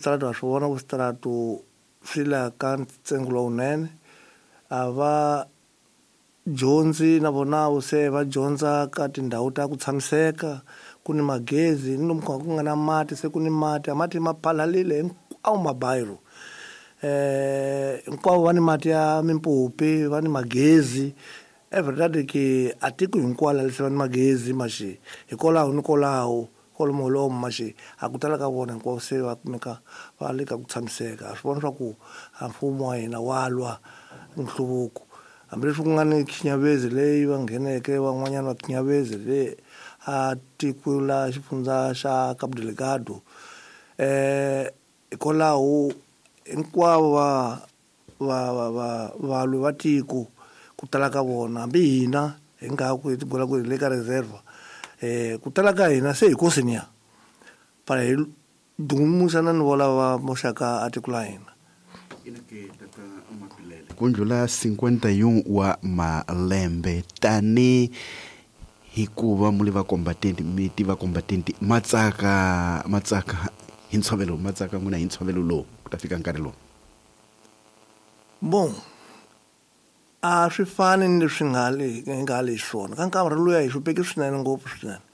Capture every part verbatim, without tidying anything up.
Switaratu ha swi vona ku switaratu swi la ka ntsengo lowunene a va dyondzi na vona se va dyondza ka tindhawu ta ku tshamiseka ku ni magezi ni lomu ku nga na mati se ku ni mati a mati ma phalalile hinkwawo mabayiro eh hinkwavo va ni mati ya mimpopi va ni magezi every ki a tiko hinkwalo leswi va ni magezi maxi hikwalaho ni kwalaho kwalomu lomu maxi a ku tala ka vona hinkwavo se va kumeka va le ka ku tshamiseka a swi vona swa ku a mfumo wa hina wa lwa nhluvuko hambileswi ku nga ni khinyavezi leyi va ngheneke van'wanyana va khinyavezi le a tiko la xifundza xa Cabo Delgado eh hikwalaho hinkwavo va va va va valwi va tiko ku tala ka vona hambi hina hi nga ku hi tigula ku hi le ka reserve eh ku tala ka hina se hi kosini ya para hi dumuxana ni vola va moxaka a tiko la hina. Ku ndlula cinquenta e um wa malembe tani hikuva muli va combatenti mi tiva combatenti matsaka matsaka hi ntshovelo matsaka n'wina hi ntshovelo lowu ku ta fika nkarhi lowu. Bon a swi fani ni leswi nga le hi nga le swona ka nkarhi luya hi hlupheke swinene ngopfu swinene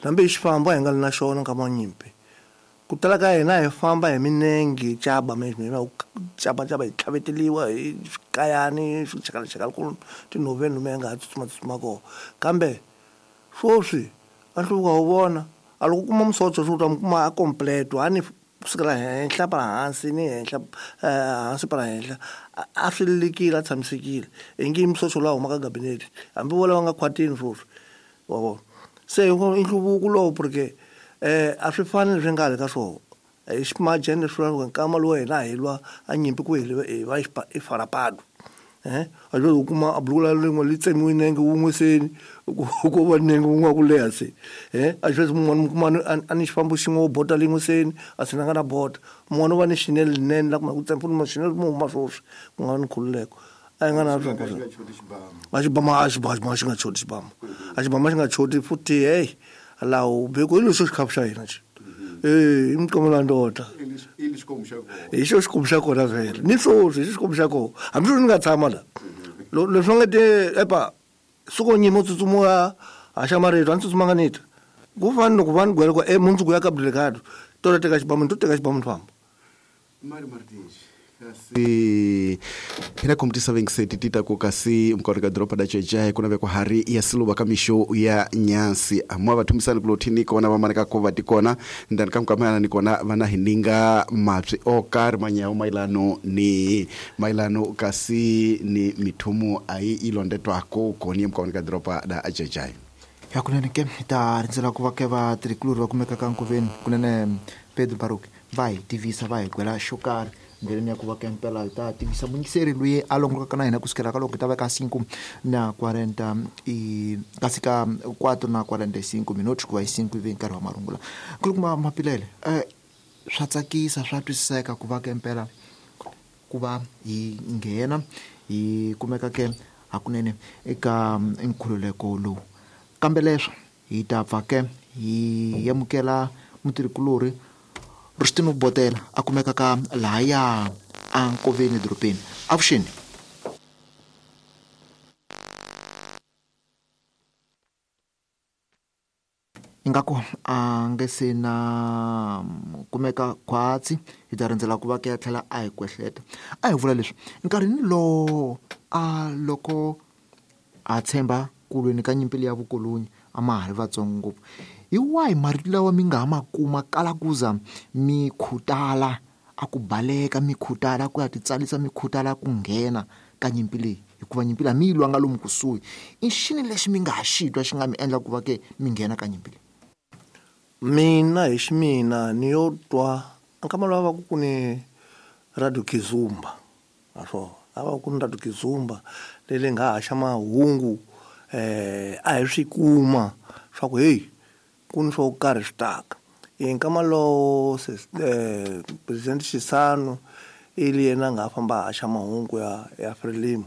hambi hi xifambo a hi nga li na xona nkama wa nyimpi ku tala ka hina hi famba hi minenge hi caba caba caba hi tlhaveteliwa hi swikayani swichakalachakala ku tinhoveni lomu hi nga ha tsutsuma tsutsuma kona kambe swoswi a nhluvuko wa vona a loko u kuma musocho swi u ta mu kuma a completo a ni kusukela henhla para hansi ni henhla hansi para henhla a swi lekile a tshamisekile i nge musocho lowu humaka gabinete hambi vo lava nga khwatini swoswi wa vona se i nhluvuko lowu porque eh a swi fani leswi nga le ka swona hi ximajeni leswi vulaka nkama lowu hina hi lwa a nyimpi ku hi va i farapado eh a loko u kuma a buluku la rin'we li tsemiwe nenge wun'we seni ku va nenge wun'we wa ku leha se eh a xivezi mun'wana mi kuma a ni xifambo xin'we wo bota lin'we seni a sina nga na bota mun'wana u va ni xinene linene la kuma ku tsema futhi xinene mu huma swoswi ku nga ni nkhululeko a yi nga na swona a xibama a xibama xi nga choti xibama a xibama xi nga choti futhi hey lawo beko hi lexo xikhafu xa hina xi eh i mqomela ndoda hi xo xikwembu xa kona vhele ni swoswi hi xo xikwembu xa kona hambi sweswi ni nga tshama la leswi va nga te epa suko nyima u tsutsuma haxa marito a ni tsutsumanga ni ta ku fani loko va ni gwela ku e mundzuku ya Cabo Delgado to la teka xibamu ni to teka xibamu ni famba. Mari Martins kasi hina komiti seventy tita ku kasi mukore ka doroba da Chejae kuna ve ku hari ya siluva ka mixo ya nyasi amwa vathumisani ku lothini kona va maneka ko va tikona ndani ka mkamana ni kona vana hininga mapsi o karhi manyawo mailano ni mailano kasi ni mithumu ayi ilondetwako koni mukore ka doroba da Chejae ya kunene ke ta rindzela ku va ke va tirhikuluri va kumeka ka nkoveni kunene Pedro Baruch va hi tivisa va hi gwela xo karhi ndleleni ya ku va ke mpela hi ta tivisa muyingiseri loyi a longolokaka na hina kusukela ka loko hi ta va ka cinco na quarenta i kasi ka quatro na quarenta e cinco minutos ku va hi cinco ivi nkarhi wa marungula nkulukumba Mapilele um swa tsakisa swa twisiseka ku va ke mpela ku va hi nghena hi kumeka ke hakunene eka nkhululeko lowu kambe leswo hi ta pfa ke hi amukela mutirhikulori Rustino Botela a kumeka ka lahaya a nkoveni dorobeni avuxeni. Ingaku a nge se na kumeka khwatsi hi ta rindzela ku va ke ya tlhela a hi kwehleta a hi vula leswi nkarhini lowo a loko a tshemba ku lweni ka nyimpi ya vukoloni a ma ha ri vatsongo ngopfu hi wahi marito lawa mi nga ha ma kuma kala kuza mi khutala a ku baleka mi khutala ku ya titsalisa mi khutala ku nghena ka nyimpi leyi hikuva nyimpi leyi mi yi lwanga lomu kusuhi i xini lexi mi nga ha xi twa xi nga mi endla ku va ke mi nghena ka nyimpi leyi? Mina hi ximina ni yo twa nkama lowu va ku ku ni Radio Kizumba naswona a va ku ni Radio Kizumba leyi nga haxa mahungu eh a hi swi kuma swa ku hey ku ni swo karhi swi taka hi nkama lowo eh President Chissano ili yena nga famba haxa mahungu ya ya Frelimo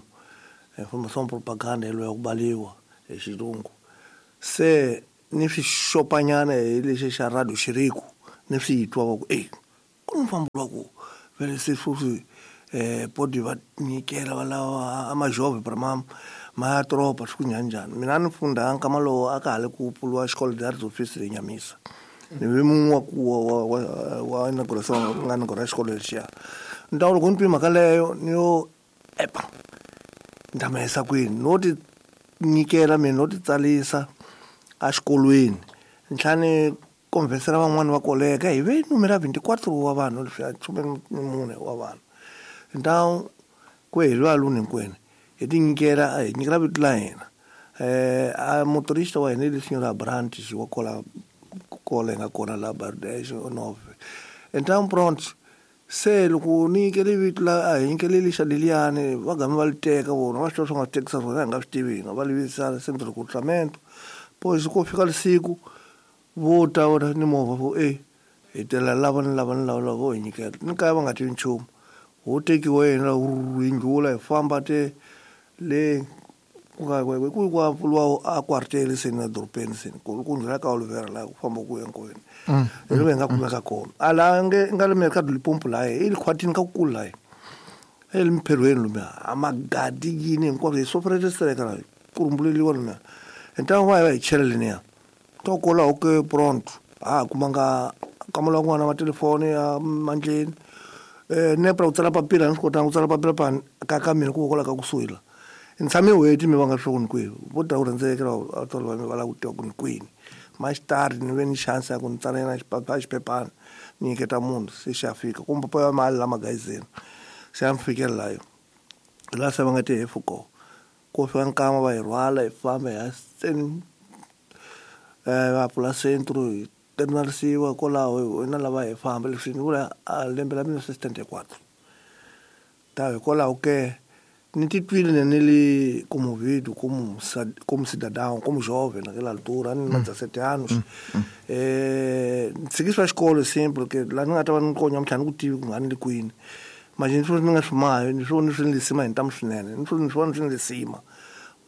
information propaganda yelo ya ku baliwa hi xilungu se ni swi xopanyana hi lexi xa Radio Xiriku ni swi twa va ku eh ku mfambo wa ku vele se sweswi eh podi va nyikela va lava amajove para ma ma tropa swi ku njhani mina ni funda nkama lowo a ka ha le ku pfuriwa xikolo d'arts office le Nyamisa ni ve mun'we wa ku wa wa wa inauguration nga inaugura xikolo lexiya ni ta loko ni twi mhaka leyo ni yo epa ni ta ma yisa kwini no ti nyikela mina no ti tsalisa exikolweni ni tlhela ni conversela van'wani va koleka hi ve numero ya veinticuatro wa vanhu leswiya khume ni mune wa vanhu então ku hi lwa luni hinkwenu hi ti nyikela hi nyikela vito la hina eh a motorista wa hina le senhor Abrantes wa kola kola nga kona la Bardez nove então pronto se loko ni nyikele vito la a hi nyikele lexa leliyani va game va li teka vona va swi tiva swi nga tekisa swona hi nga swi tivi hina va livisa centro de recrutamento pois ko fika lisiku vo ta vona ni movha vo e hi tela lava ni lava ni lava lava vo hi nyikela ni kaya va nga tivi nchumu ho tekiwa yena hi ndlula hi famba te le ku nga ku ku pfuriwa a quartel se na dorobeni se ku ku ndlula ka Oliveira la ku famba ku ya nkoveni hi lo hi nga kumeka kona a la nge nga le Mercado Limpopo la i le khwatini ka kukulu la e le mpherhweni lumiya a magadi yini hinkwaswo hi sofrete streka la ku rumbuleliwa lumiya então va hi va hi chela leniya to kwalaho ke pronto a ha kumanga kamala n'wana wa telefoni ya mandleni eh nepra ku tsala papila ni swi kotanga ku tsala papila pa ka ka mina ku kwala ka kusuhi la ni tshame n'hweti mi va nga swi ku ni kwihi vo ta ku rhendzekela vatswari va mina va lava ku tiva ku ni kwini maxitari ni ve ni chance ya ku ni tsala yena xiphephana ni nyiketa munhu se xi ya fika kumbe pa ya mali la magazini se ya mi fikela layo laha se va nga ti hefu kona ko fika nkama va hi rhwala hi famba hi ya seni eh va pfula centro hi terminalisiwa kwalaho na lava hi famba leswi ni vula a lembe la mille neuf cent setenta e quatro ta hikwalaho ke ni titwile ne ni le comovido como como cidadão como jovem naquela altura ni na dezessete anos eh ni tshiki swa xikolo simple ke la ni nga ta va ni konya mtlhanu ku tivi ku nga ni le kwini manje ni swi ni nga swi mahi ni swi ni swi ni lisima hi ntamu swinene ni swi ni swi ni swi lisima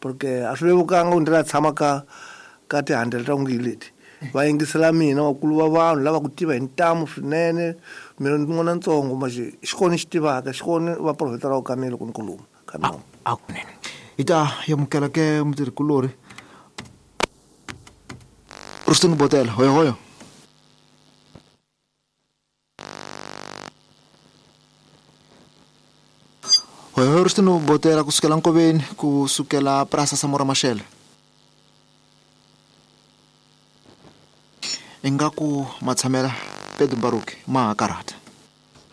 porque a swi vevukanga ku ndzi la tshama ka ka tihandle ta ngi leti va yingisela mina vakulu va vanhu lava ku tiva hi ntamu swinene mina ni n'wana ntsongo manje xikolo xi tivaka xikolo va profeta ra ka mina loko ni khuluma ka mina a kunene hi ta amukela ke mutirhikulori Rustin Botela hoyo hoyo hoyo hoyo Rustin Botela kusukela nkoveni kusukela Praça Samora Machel ingaku matshamela Pedro Baruch ma ha karhata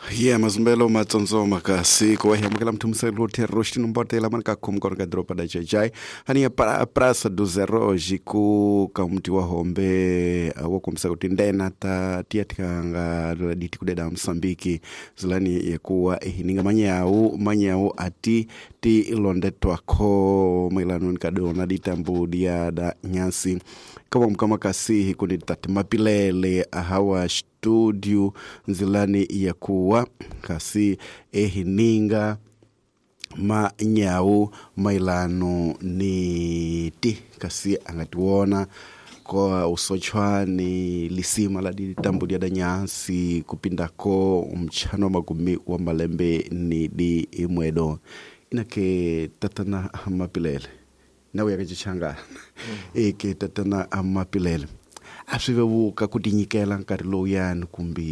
ye mazumbelo matsotsoma kasi ku wa amukela muthumiselo terroxi nombotela mani ka khomi kona ka doroba da Jajai hani ya pra, Praça dos Heróis ku ka muti wa Hombe wo kombisa kuti ndena ta tiya tikanga diti kudeda Mosambiki zilani yekuwa ihininga manyau manyau ati ti ilondetwako mailano nikadona ditambu dia da nyasi kama mkama kasi kundi tati mapilele ahawa studio nzilani ya kuwa kasi ehininga manyau mailano ni ti kasi angatiwona kwa usochwani lisima la ditambu dia da nyansi kupindako mchano wa magumi wa malembe ni di imwedo inake tatana mapilele nawe yakachichangana mm. eke tatana amapilele a swi vevuka ku tinyikela nkarhi lowuyani kumbe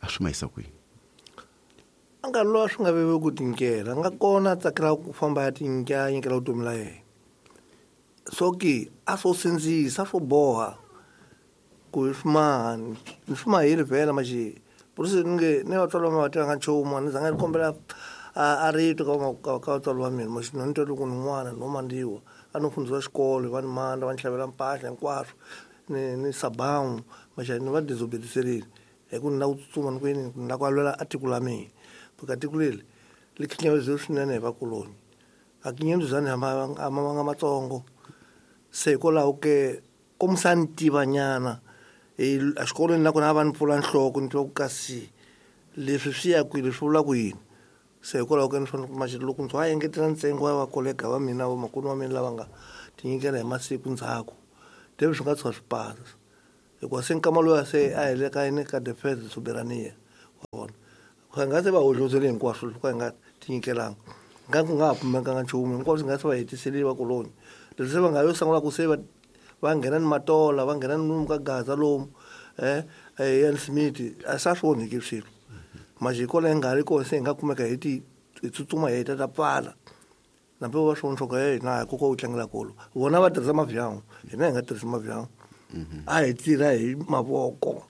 a swi mayisa kwini a nkarhi lowu a swi nga vevuki ku tinyikela a nga kona a tsakela ku famba ya tinyika nyikela vutomi la yena so ke a swo sindzisa a swo boha ku hi swi maha ni swi mahile vhela maxi por isso ni nge ni vatswari va mina va tivanga nchumu a ni zanga ni kombela a rito ka ka ka vatswari va mina maxi ni twa loko ni n'wana no mandiwa a no fundisiwa xikolo va ni manda va ni xavela mpahla hinkwaswo ni ni sabawu maxi ni va desobediserile hi ku ni lava ku tsutsuma ni ku yini ni lava ku lwela a tiko la mina porque tiko leri li khinyavisiwe swinene hi vakoloni a kinyenduzani a ma vanga matsongo se hikwalaho ke kombisa ni tiva nyana exikolweni nakona a va ni pfula nhloko ni tiva ku kasi leswi swi ya kwini swi vula ku yini se hikwalaho ka ni fanele ku loko ndzi va engetela ntsengo wa vakolega va mina vamakulu wa mina lava nga tinyikela hi masiku ndzhaku teve swi nga tshuka swi pasa hikuva se nkama loyi se a hi le ka yini ka defense soberania Ku nga se va hohlozele hinkwaswo loko hi nga tinyikelanga. Nga ku nga ha pfumekanga nchumu hinkwaswo nga se va hetisele va koloni. Leswi se va nga yo sungula ku se va va nghena ni matola, va nghena ni lomu ka Gaza lomu, eh Ian Smith, a sa swi onhiki swilo. Majiko leyi nga ri kona se hi nga kumeka hi ti hi tsutsuma hi ta ta pfala. Nambe va swi vona swa ku hey na koko u tlangela kolo. Vona va tirhisa mavyangu, hina hi nga tirhisi mavyangu. A hi tirha hi mavoko.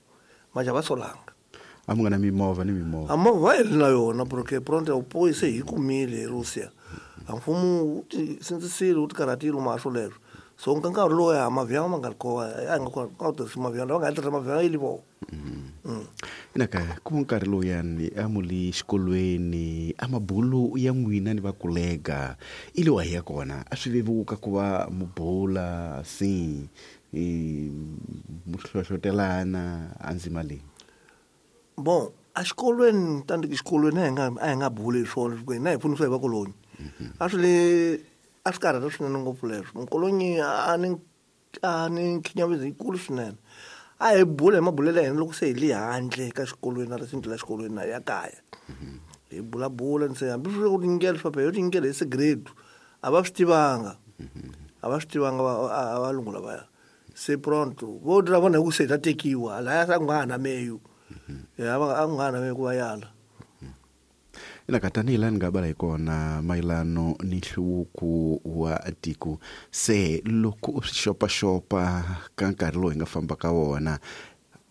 Maja va solanga. A mi nga na mimovha ni mimovha. A movha hi ri na yona porque pronto u poyise hi kumile hi Russia. A mfumo wu ti sindzisile wu ti karhatile ma swoleswo. So nka nkarhi lowu ya mavyangu ma nga ri kona, a hi nga kona ku tirhisa mavyangu, lava nga tirhisa mavyangu yi li vona. Ina ka ku nkarhi lowuyani a mu le xikolweni a mabulu ya n'wina ni vakolega i le wa hi ya kona a swi vevuka ku va mu bula si mu hlohlotelana a ndzima leyi. Bon, a xikolweni tandiki xikolweni a hi nga a hi nga buli hi swona hikuva hina hi pfunisiwa hi vakoloni. A swi le a swi karhata swinene ngopfu leswo. Mukoloni a ni a ni khinyavezi yikulu swinene. A hi bula hi mabulelo ya hina loko se hi le handle ka xikolweni na risinti la xikolweni na ya kaya. Hi bulabula ni se hambi swi ri ku tinyikela swa yo tinyikela hi sigrade a va swi tivanga. A va swi tivanga va valungu lavaya. Se pronto vo dira vona hi ku se hi ta tekiwa lahaya sa ku nga ha na meyu. Ya va a nga ha na meyu ku va yala. Ina ka tanihi laha ni nga bala hi kona mayelano ni nhluvuko wa tiko se loko u swi xopaxopa ka nkarhi lowu hi nga famba ka wona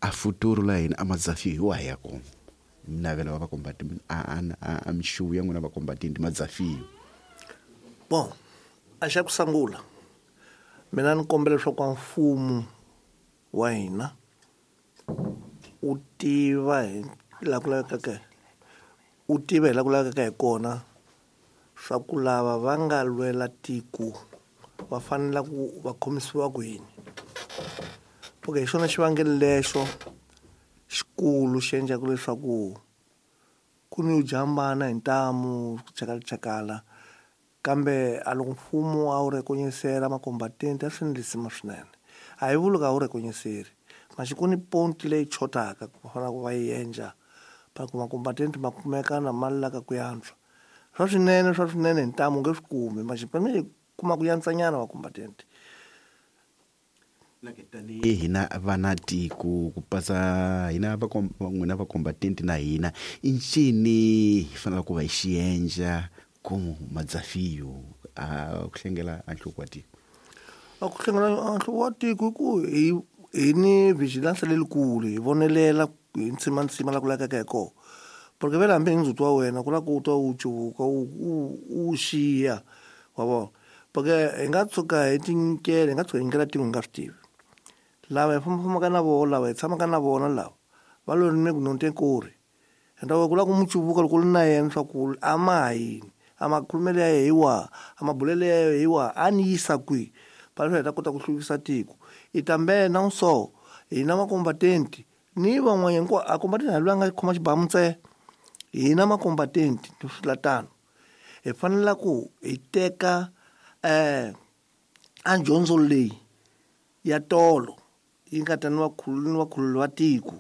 a futuro la hina a madzafi hi wa ya kona navela va vakombati a a mixuwu ya n'wina vakombatini madzafiyo. Bon, a xa ku sungula mina ni kombela leswaku mfumo wa hina u tiva hi laha ku lavekaka u tiva hi laha ku lavekaka hi kona swa ku lava va nga lwela tiko va fanele ku va khomisiwa ku yini. Okay, hi xona xivangelo lexo xikulu xi endlaka leswaku ku ni jambana hi ntamu ku chakalachakala kambe a loko mfumo a wu rekonyisela makombatenti a swi ndlisima swinene. A hi vuli ka wu rekonyiseri maxi ku ni ponti leyi chotaka ku fanele ku va yi endla pa ku makombatenti ma kumeka na mali la ka ku yantswa. Swa swinene swa swinene hi ntamu u nge swi kumi maxi fanele kuma ku yantsanyana makombatenti. Tanihi hina vana tiko ku pasa hina va n'wina vakombatenti na hina i ncini hi fanele ku va hi xiendla ku madzafiyo a ku hlengela a nhloko wa tiko. A ku hlengela a nhloko wa tiko hi ku hi hi ni vigilance lelikulu hi vonelela hi ntsimantsima la ku lavekaka hi kona. Porque vele hambi hi ndzhuti wa wena ku lava ku twa wu cuvuka wu wu xiya wa vona. Porque hi nga tshuka hi tinyikela hi nga tshuka hi nyikela tiko hi nga swi tivi. Lava hi fambafambaka na vona lava hi tshamaka na vona lava va lo ni ku nontekori. Ende ku lava ku mu cuvuka loko u ri na yena swa ku a ma ha yini a makhulumelo ya yena hi wahi a mabulelo ya yena hi wahi a ni yisa kwihi pa leswi hi ta kota ku hluvukisa tiko. I tambe na so hina makombatenti ni van'wanyana hinkwavo a kombatenti a loyi a nga khoma xibamu ntsena. Hina makombatenti swi la tano hi fanele ku hi teka eh a dyondzo leyi ya tolo yi nga ta ni vakhulu ni vakhulu va tiko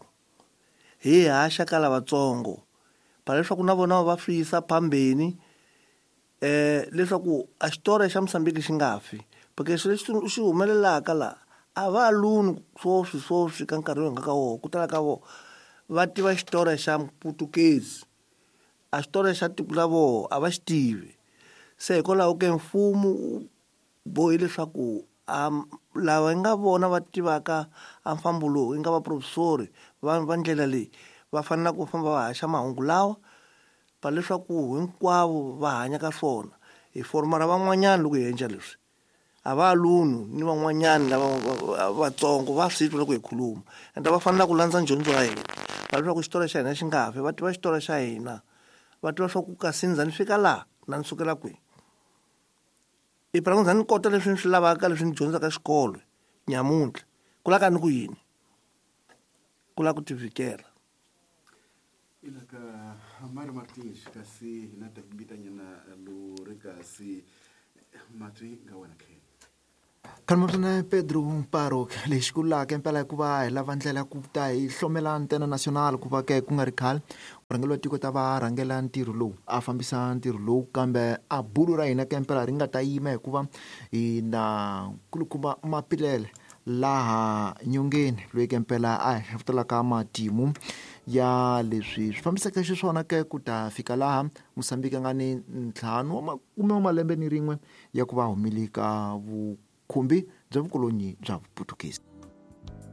hi haxa ka lavatsongo pa leswaku na vona va swi yisa phambeni eh leswaku a xitori xa Mozambique xi nga fi. Porque swilo leswi xi humelelaka laha a va luni swoswi swoswi ka nkarhi lowu hi nga ka wona ku tala ka vona va tiva xitori xa Putukezi a xitori xa tiko la vona a va xi tivi. Se hikwalaho ke mfumo wu bohi leswaku a lava hi nga vona va tivaka a mfambo lowu yi nga vaprofesori va va ndlela leyi va fanele ku famba va haxa mahungu lawa pa leswaku hinkwavo va hanya ka swona. Hi formara van'wanyana loko hi endla leswi a va luni ni van'wanyana lava vatsongo va swi twa loko hi khuluma ende va fanele ku landza dyondzo ya hina va leswaku xitori xa hina xi nga fi va tiva xitori xa hina va tiva swa ku kasi ndzha ni fika laha na ni sukela kwihi. I phela ku ndzha ni kota leswi ni swi lavaka leswi ni dyondzaka xikolo nyamuntlha ku lava ka ni ku yini ku lava ku tivikela. Ina ka Mari Martins kasi hina ta bitanyana lo ri kasi matwi nga wena khe. Khalmapsana Pedro Mparo lexi kulaka impela hikuva hi lava ndlela ku ta hi hlomela ntena national ku va ke ku nga ri khale murhangeri wa tiko ta va rhangela ntirho lowu a fambisa ntirho lowu kambe a bulu ra hina ke impela ri nga ta yima hikuva hi na kulukumba Mapilele laha nyongeni loyi ke impela a hi hlavutelaka matimu ya leswi swi fambisaka xiswona ke ku ta fika laha Mozambique a nga ni ntlhanu wa makume wa malembe ni rin'we ya ku va humile ka vukhumbi bya vukolonyi bya Vuputukezi.